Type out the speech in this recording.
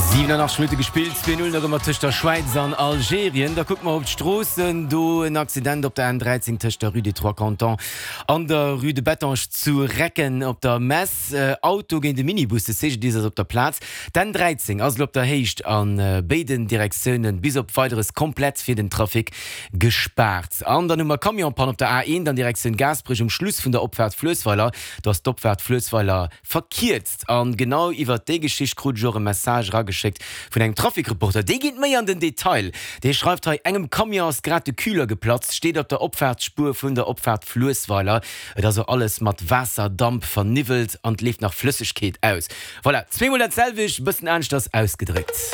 87 Minutte gespillt, 2, 0 nach ëmmer tëscht der Schwäiz an Algerien. Da kucke mer op d'Stroossen. Do en Accident op der N13 tëscht der Rue des Trois Cantons an der Rue de Bettange zu Recken op der Mess. Auto géint e Minibus, de CGDIS ass op der Plaz. D'N13 ass elo op der Héicht a béiden Direktioune bis op Weideres komplett fir den Trafic gespaart. An dann hu mer Camionspann op der A1 an Direktioun Gaasperech um Schluss vun der Opfaart Fluessweiler. Do ass d'Opfaart Fluessweiler verkierzt. An genau iwwert déi Geschicht krut ech och e Message erageschéckt vun engem Trafikreporter. Dee geet méi an den Detail. Dee schreift hei, Engem Camion ass grad de Kühler geplatzt, steet op der Opfaartsspuer vun der Opfaart Fluessweiler. Et ass och alles mat Waasserdamp verniwwelt an et leeft nach Flëssegkeet aus. Voilà, zweemol dat selwecht, e bëssen aneschters ausgedréckt.